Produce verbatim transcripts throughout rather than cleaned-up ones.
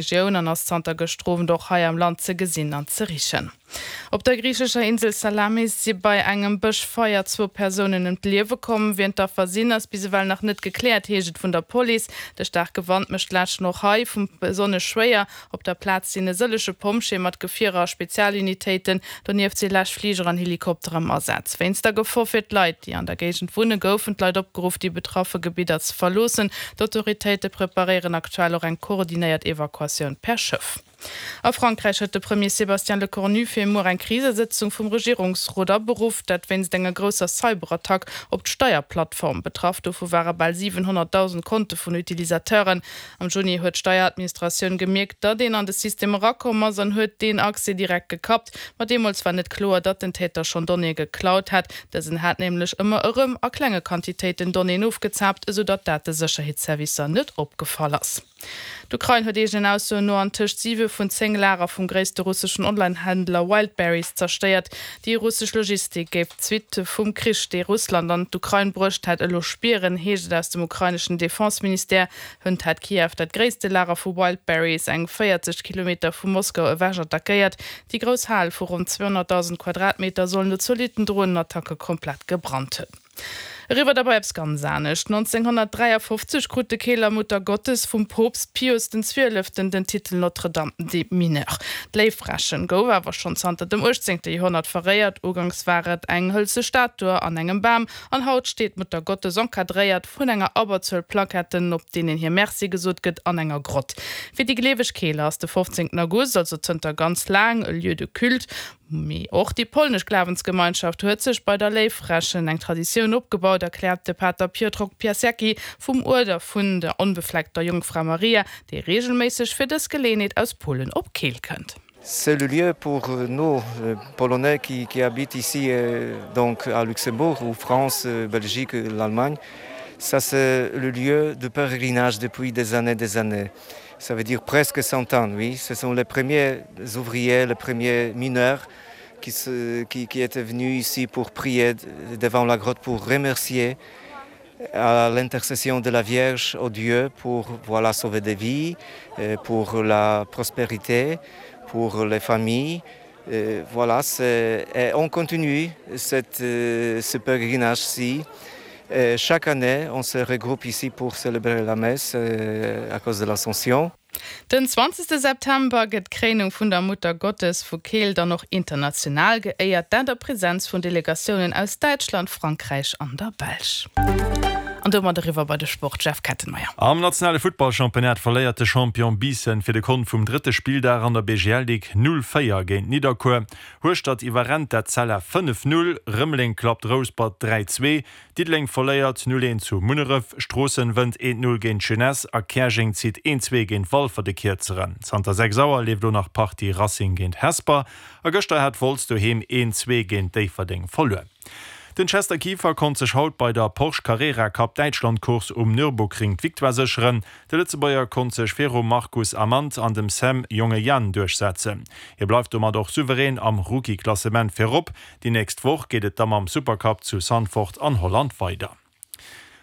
Regioun an ass zanter gëschter Owend och hei am Land ze gesinn an ze richen. Op der griichescher Insel Salamis si bei engem Bëschfeier zwou Persounen ëm d'Liewe komm. Wien d'Affer sinn, ass bis ewell nach net gekläert, heescht et vun der Police. De staarke Wand mécht d'Läschen och hei vum besonnesch schwéier. Op der Plaz sinn e sëllege Pompjeeë mat Gefierer a Spezialunitéiten. Donieft si Läschfliger an Helikopter am Asaz. Wéinst der Gefor fir d'Leit, déi an der Géigend wunnen, goufen d'Leit opgeruff, déi betraffe Gebidder ze verloossen. D'Autoritéite preparéieren aktuell och eng koordinéiert Evakuatioun per Schëff. A Frankräich huet de Premier Sébastien Lecornu fir muer eng Krisesëtzung vum Regierungsrot aberuff, dat wéinst enger grousser Cyberattack op d'Steierplattform. Betraff dovu ware bal siwenhonnertdausend Konte vun Utilisateuren. Am Juni huet d'Steieradministratioun gemierkt, datt een an de System erakomm ass an huet deen Accès direkt gekappt. Ma deemools war net kloer, datt den Täter schonn Donnéeë geklaut hat. Dësen hat nämlech ëmmer erëm a klenge Quantitéiten Donnéeën ofgezaapt, esou datt dat de Sécherheetsservicer net opgefall ass. D'Ukrain huet eegenen Aussoen no an tëscht siwe vun zéng Lager vum gréisste russeschen Online-Händler Wildberries zerstéiert. Déi russesch Logistik géif d'Suitte vum Krich, dee Russland an d'Ukrain bruecht hätt, elo spieren, heescht et aus dem ukraineschen Defense-Ministère. Hënt hat Kiew dat gréisste Lager vu Wildberries, eng véierzeg Kilometer vu Moskau ewech, attackéiert. Déi grouss Hal vu ronn zweehonnertdausend Quadratmeter soll no zolitten Dronenattacke komplett gebrannt hunn. Eriwwer da bei eppes ganz anescht. nonzénghonnertdräiafofzeg krut de Keeler Muttergottes vum Poopst Pius den Zwieleften den Titel Notre-Dame des Mineurs. D'Léiffrächen gouf awer schonn zanter dem uechtzéngte Joerhonnert veréiert. Uganks war et eng hëlze Statue an engem Bam an haut steet d'Muttergottes encadréiert vun enger Abberzuel Plaquetten, op deenen hir Merci gesot gëtt, an enger Grott. Fir déi gleeweg Keeler ass de fofzéngten August also zënter ganz laang e Lieu de culte. Mee och déi polnesch Glawensgemeinschaft huet sech bei der Léiffrächen eng Traditioun opgebaut, erkläert de Pater Piotrok Piasecki vum Uerder vun der Onbefleckter Jongfra Maria, dee reegelméisseg fir dës Geleeënheet aus Polen op Keel kënnt. C'est le lieu pour nous, Polonais qui, qui habitent ici donc à Luxembourg ou France, Belgique, l'Allemagne. Ça c'est le lieu de pèlerinage depuis des années, des années. Ça veut dire presque cent ans, oui. Ce sont les premiers ouvriers, les premiers mineurs qui, se, qui, qui étaient venus ici pour prier devant la grotte, pour remercier à l'intercession de la Vierge au Dieu pour voilà, sauver des vies, pour la prospérité, pour les familles. Et voilà, et on continue cette, ce pèlerinage-ci. Et chaque année, on se regroupe ici pour célébrer la messe à cause de l'Ascension. Den zwanzegste September gëtt d'Kréinung vun der Muttergottes vu Keel dann och international geéiert, dat a Presenz vun Delegatiounen aus Däitschland, Frankräich an der Belsch. An domat eriwwer bei de Sport, Jeff Kettenmeyer. Am nationale Futtballchampionnat verléiert de Champion Biissen fir de Kont vum drëtte Spilldag an der B G L Ligue null véier géint Nidderkuer. Hueschtert iwwerrennt d'Etzella fënnef null, Rëmeleng klappt Rouspert dräi zwee, Diddeleng verléiert null eent zu Munneref, Stroossen wënnt eent null géint d'Jeunesse a Käerjeng zitt eent zwee géint Walfer de Kierzeren. Zanter sechs Auer leeft elo nach d'Partie Racing géint Hesper a gëschter hat Wolz doheem eent zwee géint Déifferdeng verluer. Den Chester Kieffer konnt sech haut bei der Porsche Carrera Cup Däitschland Course um Nürburgring d'Victoire sécheren. De Lëtzebuerger konnt sech virum Marcus Amant an dem Sam Jongejan duerchsetzen. Hie bleift domat och souverän am Rookie-Klassement virop. Déi nächst Woch geet et da mam Supercup zu Zandvoort an Holland weider.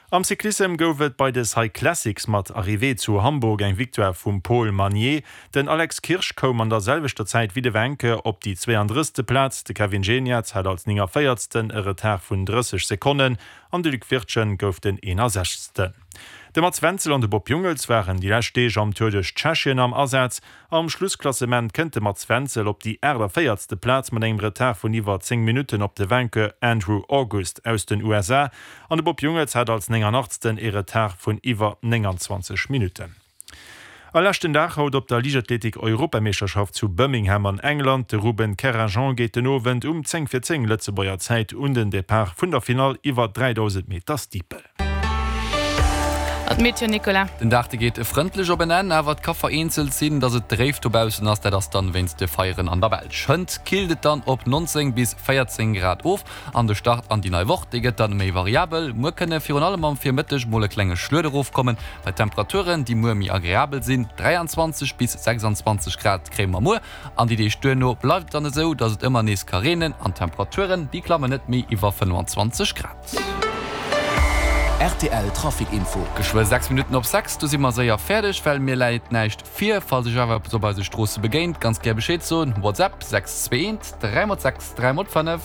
Am Cyclissem gouf et bei de Cyclassics mat Arrivée zu Hamburg eng Victoire vum Paul Magnier. Den Alex Kirsch koum an der selwechter Zäit wéi de Wenke op déi zweeandrësste Plaz. De Kevin Geniets hat als néngavéierzten e Retard vun drësseg Sekonnen an de Luc Wirtgen gouf den eenasechzegsten. De Mats Wenzel an de Bob Jungels waren déi lescht Deeg am Tour duerch Tschechien am Asaz. Am Schlussklassement kënnt de Mats Wenzel op déi aachtavéierzte Plaz mat engem Retard vun iwwer zéng Minutten op de Vainqueur Andrew August aus den U S A. An de Bob Jungels hat als nénganachtsten e Retard vun iwwer nénganzwanzeg Minutten. A leschten Dag haut op der Liichtathletik-Europameeschterschaft zu Birmingham an England. De Ruben Kerrajean geet den Owend um zéng vir zéng Lëtzebuerger Zäit un den Depart vun der Finall iwwer dräidausend Meter Steeple. An d'Meteo, Nicolas? Den Dag, dee geet frëndlech op en Enn, awer et ka vereenzelt sinn, dass et dréif dobaussen ass. Dat ass dann wéinst de Feieren an der Belsch. Hënt killt et dann op nonzéng bis véierzéng Grad of an de Start an déi nei Woch, dee gëtt dann méi variabel. Muer kënne virun allem am Virmëtteg mol e klenge Schluet erofkommen, bei Temperaturen, déi muer méi agreabel sinn. dräianzwanzeg bis sechsanzwanzeg Grad kréie mer muer an déi Deeg duerno bleift et dann esou, dass et ëmmer nees ka reenen an d'Temperaturen, déi klammen net méi iwwer fënnefanzwanzeg Grad. R T L Trafic Info. Geschwë sechs Minutten op sechs, do si mer séier fäerdeg, well mir läit näischt vir. Falls Iech awer eppes op eise Stroosse begéint, ganz gär Bescheed soen, WhatsApp sechs zwee eent dräi mol sechs dräi mol fënnef.